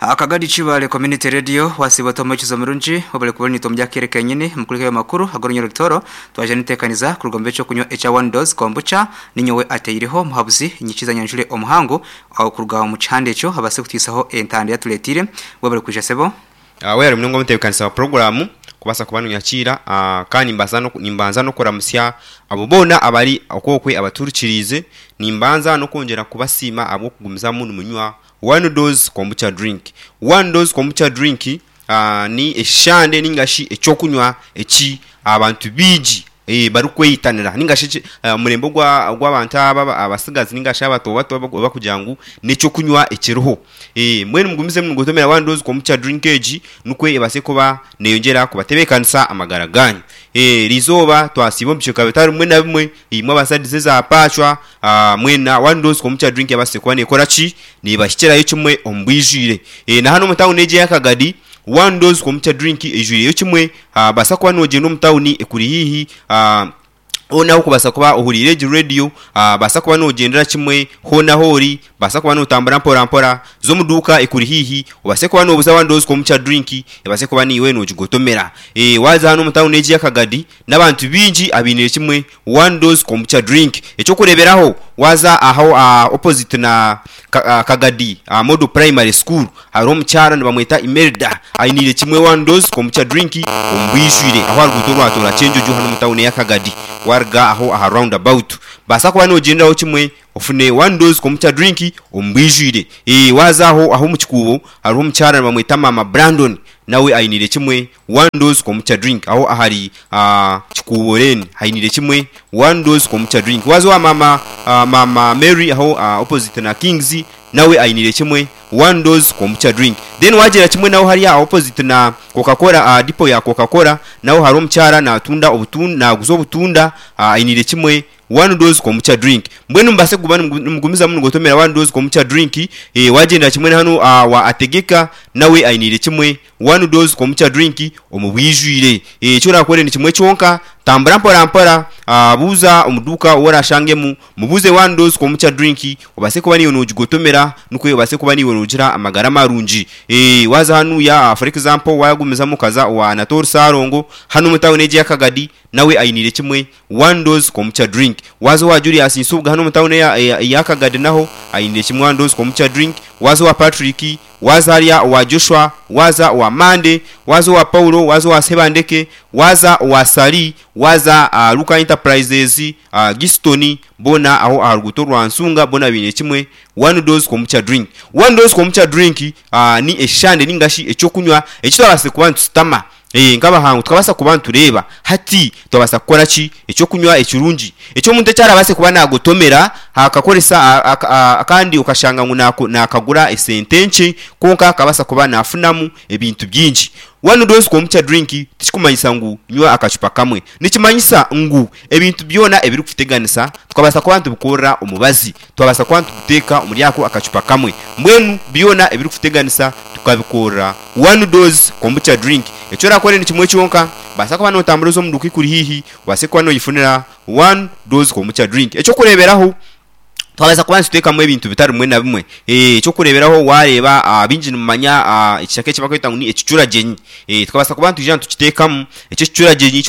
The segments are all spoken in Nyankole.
Akagadi Kibaale Community Radio wasiiba ota omwekizo murungi webale kuba ori naitwe omuri akaire kenyini omu kureka amakuru ag'orunya rutoro twaija n'enteekaniza kuruga omu by'ekyokunywa ekya One Dose Kombucha ninyowe ateireho omuhabuzi Nyikiza Nyanjure Omuhangu kuruga omu kihanda ekyo abaase kutwisaho entanda eyatureteire webale kwija sebo. Webale munonga omutebeekanisa wa puroguraamu kubaasa kuba nonyakiira kandi nimbanza n'okuramutsya abo boona abari okwokwe abatuhurikiriize. Nimbanza n'okwongyera kubasiima ahabw'okugumizamu nimunywa One Dose Kombucha Drink. One Dose Kombucha Drink ni eshande ninga shi eky'okunywa eki abantu baingi barikweyitanira ninga shi omurembe ogw'abantu aba abatsigazi ninga shi abato bato barikugira ngu n'eky'okunywa ekiriho. Mbwenu mugumizemu nimugotomera One Dose Kombucha Drink egi nikwo ebaase kuba neeyongyera kubatebeekanisa amagara gaanyu. Eriizooba twasiiba omu bicweka bitari bimwe na bimwe, imwe abasadize za paacwa, Mwena One Dose Kombucha Drink ebaasire kuba neekora ki? Neebahikirayo kimwe omu bwijwire. Na hanu omu tauni egi eya Kagadi, One Dose Kombucha Drink eijwireyo kimwe. Baasa kuba noogyenda omu tauni ekuri haihi, hoona ahu orikubaasa kuba ohuriire egi rediyo, baasa kuba noogyendera kimwe hoona ahu ori, baasa kuba nootambura mporampora, za omu duuka ekuri haihi obaase kuba noobuza One Dose Kombucha Drink ebaase kuba naiwe noogigotomera. Waaza hanu omu tauni egi eya Kagadi, n'abantu baingi abainiire kimwe One Dose Kombucha Drink. Eky'okureeberaho, waaza aho aha opposite na Kagadi Model Primary School, hariho omukyara nibamweta Imelda, ainiire kimwe One Dose Kombucha Drink omu bwijwire aho aha ruguuto orwa Tooro Kyenjojo hanu omu tawuni eya Kagadi, waaruga aho aha round about. Baasa kuba noogyenderaho kimwe ofune One Dose Kombucha Drink omu bwijwire. Waaza aho aho omu kikuubo hariho omukyara nibamweta Maama Brandon, nawe ainiire kimwe One dose kombucha drink aho ahari Kikuubo Lane hainiire kimwe One dose kombucha drink. Waaza owa maama maama Mary aho opposite na Kings nawe ainiire kimwe One dose kombucha drink. Then waagyera kimwe naho hariya opposite na Coca Cola depot ya Coca Cola naho hariho omukyara natunda obutunda naguza obutunda ainiire kimwe One dose kombucha drink. Mbwenu mubaase kuguma nimugumizamu nigotomera one dose kombucha drink. Waagyendera kimwe na hanu wa Ategeka nawe ainiire kimwe One dose kombucha drink omu bwijwire. Eki orakore ni kimwe kyonka, tambura mpora mpora, buuza omu duuka ou orashangemu, mubuuze one dose kombucha drink obaase kuba naiwe nogigotomera nikwo obaase kuba naiwe nogira amagara marungi. Waaza hanuya for example wagumizamu okaza owa Anatole Ssalongo hanu omu tawuni egi eya Kagadi nawe ainiire kimwe One dose kombucha drink. Waaza owa Julius Nsubuga hanu omu tawuni eya Kagadi naho ainiire kimwe one dose kombucha drink. Waaza owa Patrick Waaza hariya owa Joshua, waaza owa Mande, waaza owa Paulo, waaza owa Sebandeke, waaza owa Sali, waaza aha Luka Enterprises, aha Giston, boona aho aha ruguuto rwa Nsunga boona baine kimwe, One Dose Kombucha Drink. One Dose Kombucha Drink ni eshande ninga shi eky'okunywa eki twabaasize kuba nitusitama Nk'abahangu tukabaasa kuba nitureeba hati twabaasa kukora ki? Eky'okunywa ekirungi eki omuntu eki arabaase kuba naagotomera akakoresa kandi okashanga ngu naakagura esente nkye kwonka akabaasa kuba naafunamu ebintu bingi. One dose kombucha drink tikikumanyisa ngu nywa akacupa kamwe. Nikimanyisa ngu ebintu byona ebirikututeganisa tukabaasa kuba nitubikorera omubazi. Twabaasa kuba nituguteeka omuri ako akacupa kamwe. Mbwenu byona ebirikututeganisa tukabikorera one dose kombucha drink. Eki orakore ni kimwe kyonka, baasa kuba notambura oze omu duuka ekuri haihi obaase kuba noyefunira one dose kombucha drink. Eky'okureeberaho, twabaasa kuba nituteekamu ebintu bitari bimwe na bimwe. Eky'okureeberaho waareeba baingi nimumanya ekishaka eki barikweta ngu ni ekicuragyenyi. Tukabaasa kuba nitwija nitukiteekamu, eki ekicuragyenyi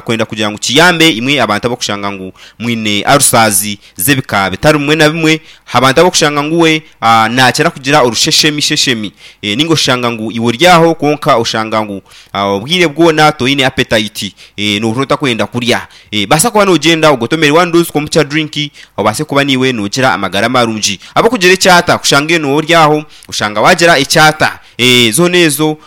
kwenda kugira ngu kiyambe imwe abantu abarikushanga ngu mwine ulcers z'ebika bitari bimwe na bimwe. Abantu abarikushanga ngu we naakira kugira orusheshemi sheshemi, nainga oshanga ngu iwe ori aho kwonka oshanga ngu obwire bwona toine appetite, noohurira otakwenda kurya. Baasa kuba noogyenda ogotomere one dose kombucha drink obaase kuba naiwe noogira amagara marungi. Abarikugira ekyata, kushanga iwe nooba ori aho oshanga waagira ekyata. Zoona ezo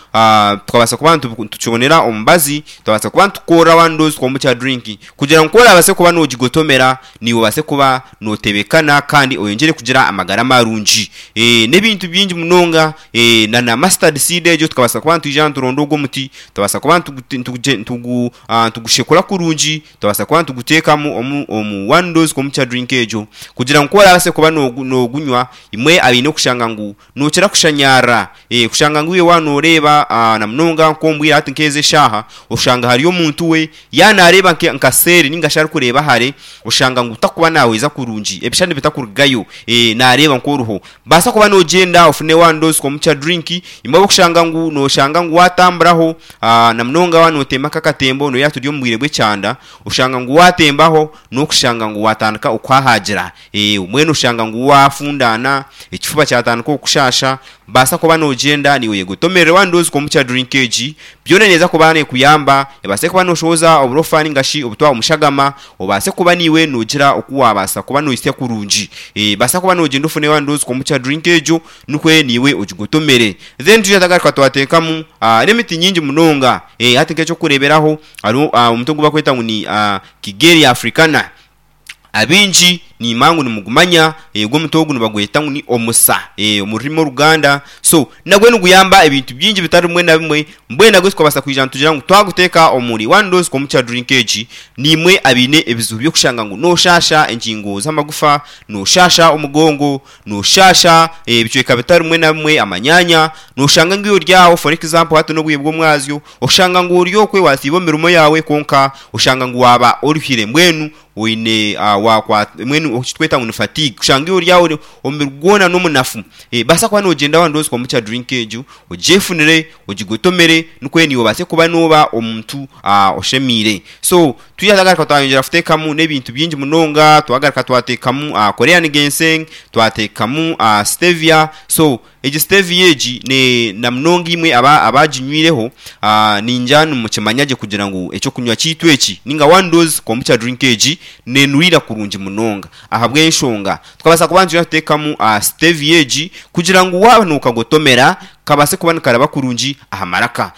tukabaasa kuba nitukibonera omubazi, twabaasa kuba nitukorera one dose kombucha drink kugira ngu ku orabaase kuba noogigotomera naiwe obaase kuba nootebekana kandi oyongyere kugira amagara marungi. N'ebintu bingi munonga na na mustard seed egyo tukabaasa kuba nitwija nituronda ogwo omuti, twabaasa kuba nitugushekura kurungi, twabaasa kuba nituguteekamu omu one dose kombucha drink egyo kugira ngu ku orabaase kuba noogunywa, imwe abaine kushanga ngu nookira kushanyarara. Kushanga ngu iwe waaba nooreeba na munonga nk'omu bwire hati nk'ezi eshaaha, oshanga hariyo omuntu we yaaba naareeba nka seeri nainga shi arikureeba hare, oshanga ngu takuba naahweza kurungi, ebishushani bitakurugayo, naareeba nk'oriho. Baasa kuba noogyenda ofune one dose komukya drink, imwe abarikushanga ngu nooshanga ngu waatamburaho na munonga waaba nootemba nk'akatembo nooreeba turi omu bwire bw'ekyanda, oshanga ngu waatembaho n'okushanga ngu waatandika okuhahaagira. Mbwenu oshanga ngu waafundaana, ekifuba kyatandika okukushaasha, baasa kuba noogyenda naiwe oyegotomerere one dose komukya drink egi, byona neeza kuba neekuyamba ebaase kuba nooshohoza oburofa nainga shi obutwa omu shagama, Obaase kuba naiwe noogira oku waabaasa kuba nohitsya kurungi. Baasa kuba noogyenda ofune one dose kombucha drink egyo nikwo naiwe ogigotomere. Then twija twagaruka twateekamu n'emiti nyingi munonga. Hati nk'eky'okureeberaho hariho omuti ogu barikweta ngu ni Kigelia Africana. Abaingi niimanya ngu nimugumanya, ogu omuti ogu nibagweta ngu ni omusa omu rurimi oruganda. So nagwo niguyamba ebintu bingi bitari bimwe na bimwe. Mbwenu nabwo tukabaasa kwija nitugira ngu twaguteeka omuri one dose kombucha drink egi, naimwe abaine ebizibu by'okushanga ngu nooshaasha engingo z'amagufa, nooshaasha omugongo, nooshaasha ebicweka bitari bimwe na bimwe, amanyaanya, nooshanga ngu iwe ori aho for example hati n'obwire bw'omwazyo, oshanga ngu ori okwe waasiiba omu mirimo yaawe kwonka oshanga ngu waaba oruhire mbwenu oine wakwat mbwenu eki turikweta ngu ni fatigue kushanga iwe ori aho omubiri gwona n'omunafu. Baasa kuba noogyenda one dose kombucha drink egyo ogyefunire, ogigotomere nikwo naiwe obaase kuba nooba omuntu oshemeire. So twija twagaruka twayongyera kuteekamu n'ebintu bingi munonga, twagaruka twateekamu Korean ginseng, twateekamu stevia. So egi stevia egi ne na munonga imwe abaginywireho ningira nimukimanya gye kugira ngu eky'okunywa kyaitu eki ninga one dose kombucha drink egi nenuriira kurungi munonga ahabw'enshonga Tukabaasa kuba nitwija kuteekamu stevia egi kugira ngu waaba nookagotomera kabaase kuba nikaraba kurungi aha maraka.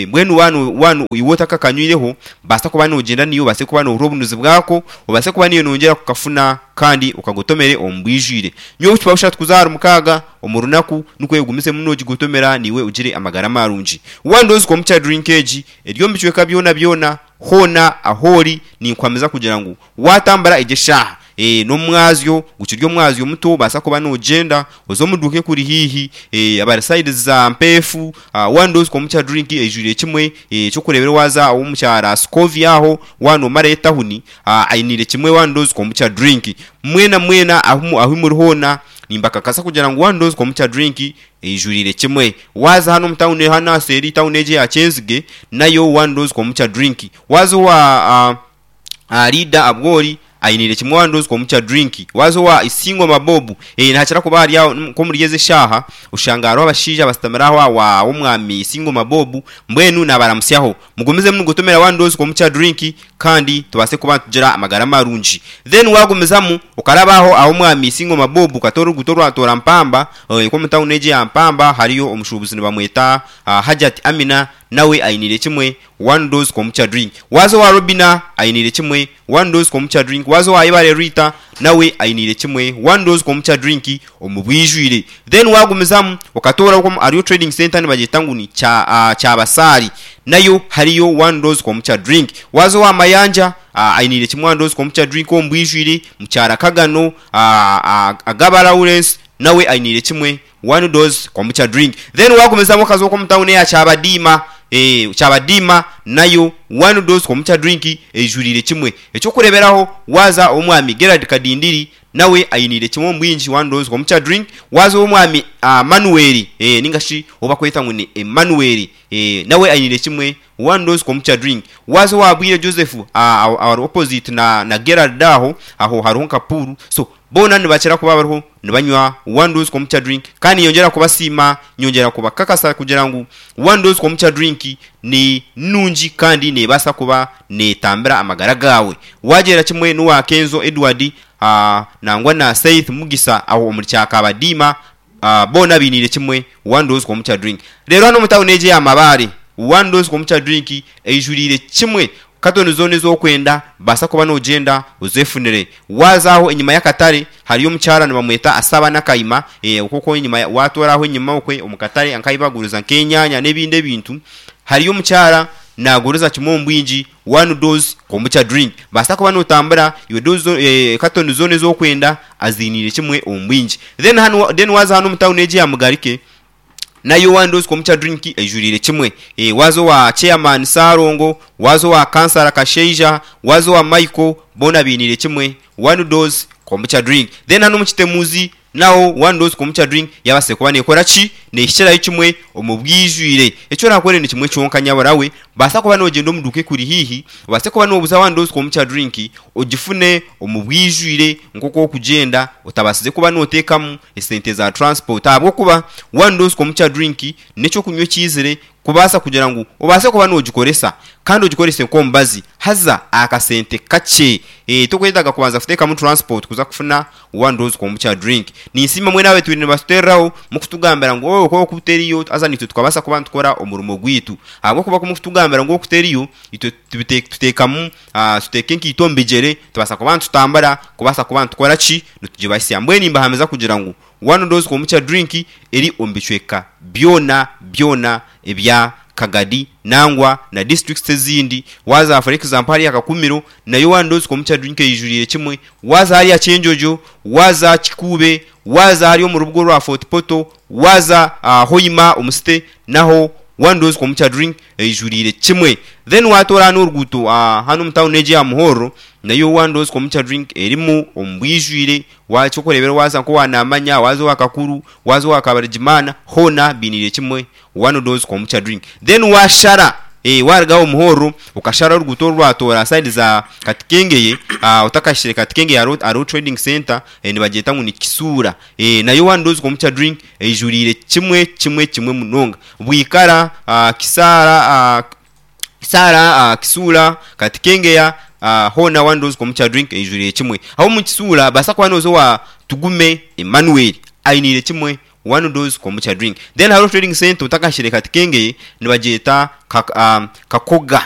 Mbwenu waaba iwe otakakanywireho, baasa kuba noogyenda naiwe obaase kuba noohurira obunuzi bwako, obaase kuba naiwe noyongyera kukafuna kandi okagotomere omu bwijwire. Nyowe obucupa bushatu kuza ahari mukaaga omu runaku nikwo ogumizemu noogigotomera naiwe ogire amagara marungi. One dose kombucha drink egi eri omu bicweka byonabyona, hoona ahu ori ninkuhamiza kugira ngu waatambura egyo eshaaha, Ee, n'omwazyo gukiri omwazyo muto, obaasa kuba noogyenda oze omu duuka ekuri haihi, ee, abari sayidi za Mpeefu, one dose kombucha drink eijwire kimwe, ee, eky'okureebera waaza ow'omukyara Scovia aho, waaba noomarayo etahuni, ainiire kimwe one dose kombucha drink. Mwena mwena ahu ahu muri hoona, nimbakakasa kugira ngu one dose kombucha drink eijwiriire kimwe. Waaza hanu omu tawuni hanu aha seeri tawuni egi eya Kyenzige, nayo one dose kombucha drink. Waaza owa Leader Abwori ainiire kimwe one dose kombucha drink. Waaza owa Isingoma Bob, nihakira kuba hari aho nk'omuri ezi eshaaha oshanga hariho abashaija abasitamire aho owa w'omwami Isingoma Bob mbwenu naabaramutsyaho. Mugumizemu nimugotomera one dose kombucha drink kandi tubaase kuba nitugira amagara marungi. Then waagumizamu okaraba aho ah'omwami Isingoma Bob okatoora oruguuto orwatoora Mpamba, nk'omu tawuni egi eya Mpamba hariyo omushuubuzi nibamweta Hajjat Amina nawe ainiire kimwe One dose kombucha drink. Waaza owa Robina ainiire kimwe One dose kombucha drink. Waaza owa Ibare Rita nawe ainiire kimwe One dose kombucha drink omu bwijwire. Then waagumizamu okatoora okwo hariyo trading centre nibagyeta ngu ni Kya Kyabasaari nayo hariyo One dose kombucha drink. Waaza owa Mayanja ainiire kimwe One dose kombucha drink omu bwijwire. Mukyara Kagano, Agaba Lawrence nawe ainiire kimwe One dose kombucha drink then wagumizamu okaza okwo omu town eya Kyabadiima eeh Kyabadiima nayo one dose kombucha drink eijwiriire kimwe. Ekyokureberaho waza owomwami Gerald Kadindiri nawe ainiire kimwe omu bwingi one dose kombucha drink, waza owomwami Manuel eeh ninga shi ou bakweta ngu ni Emmanuel eeh nawe ainiire kimwe one dose kombucha drink, waza owa Bwire Joseph ahari opposite na Gerald aho, aho hariho nka pool so Boona nibakira kuba bariho nibanywa One Dose Kombucha Drink kandi nyongyera kubasiima, nyongyera kubakakasa kugira ngu One Dose Kombucha Drink ni nungi kandi neebaasa kuba neetambira amagara gaawe. Waagyera kimwe n'owa Kenzo Edward nangwa na Seith Mugisa aho omuri Kyakabadiima boona bainiire kimwe One Dose Kombucha Drink. Reero hanu omu tauni egi eya Mabaare, One Dose Kombucha Drink eijuriire kimwe. Katoni zoona ezi orikwenda, baasa kuba noogyenda ozeefunire. Waaza aho enyima y'akatare, hariyo omukyara nibamweta Asaba Nakaima, okwo okwo enyima waatoora aho enyima okwe omu katare nk'ahu baguriza nk'enyaanya n'ebindi ebintu, hariyo omukyara naaguriza kimwe omu bwingi one dose kombucha drink. Baasa kuba nootambura, iwe dose katoni zoona ezi orikwenda aziiniire kimwe omu bwingi. Then hanu then waaza hanu omu tawuni egi eya Mugarike. Nayo One Dose Kombucha Drink eijuriire kimwe. Waaza owa Chairman Ssalongo, waaza owa Kansara Kashaija, waaza owa Michael, boona bainiire kimwe One Dose Kombucha Drink. Then hanu omu Kitemuzi naho One Dose Kombucha Drink yaabaasire kuba neekora ki? Neehikirayo kimwe omu bwijwire. Eki oraakore ni kimwe kyonka nyabura we, baasa kuba noogyenda omu duuka ekuri haihi, obaase kuba noobuza One Dose Kombucha Drink ogifune omu bwijwire nk'oku orikugyenda otabaasize kuba nooteekamu esente za transport ahabw'okuba One Dose Kombucha Drink n'eky'okunywa ekiizire kubaasa kugira ngu obaase kuba noogikoresa kandi ogikorese nk'omubazi haza aha kasente kakye. Tokwetaaga kubanza kuteekamu transport kuza kufuna One Dose Kombucha Drink. Ninsiima mwena abatwire nibatuteereraho mukutugambira ngu oo ku oku teriyo haza naitwe tukabaasa kuba nitukora omurimo gwaitu ahabw'okuba ku mukutugambira ngu oku teriyo itwe tuteekamu tuteeka enkaito omu bigyere tubaasa kuba nitutambura kubaasa kuba nitukora ki? Nitugibahitsya. Mbwenu nimbahamiza kugira ngu One Dose Kombucha Drink eri omu bicweka byona byona ebya Kagadi nangwa na districts ezindi. Waaza for example hariya Kakumiro nayo One Dose Kombucha Drink eijuriire kimwe. Waaza hariya Kyenjojo, waaza Kikuube, waaza hariya omu rubuga orwa Fort Portal, waaza Hoima omu city naho One Dose Kombucha Drink eijuriire kimwe. Then waatoora hanu oruguuto hanu omu tawuni egi eya Muhorro nayo One Dose Kombucha Drink erimu omu bwijwire. Eky'okureeberaho waaza nk'owa Namanya, waaza owa Kakuru, waaza owa Kabarigimana hoona bainiire kimwe One Dose Kombucha Drink. Then waashara waaruga aho Muhorro okashara oruguuto oru rwatoora sayidi za Katikengeye otakahikire Katikengeye hariho trading centre nibagyeta ngu ni Kisuura nayo One Dose Kombucha Drink eijuriire kimwe kimwe kimwe munonga. Bwikara, Kisaara, Kisaara, Kisuura, Katikengeya hoona One Dose Kombucha Drink eijuriire kimwe. Aho omu Kisuura baasa kuba nooza owa Tugume Emmanuel ainiire kimwe One Dose Kombucha Drink. Then hariho trading centre otakahikire Katikengeye nibagyeta Kakoga.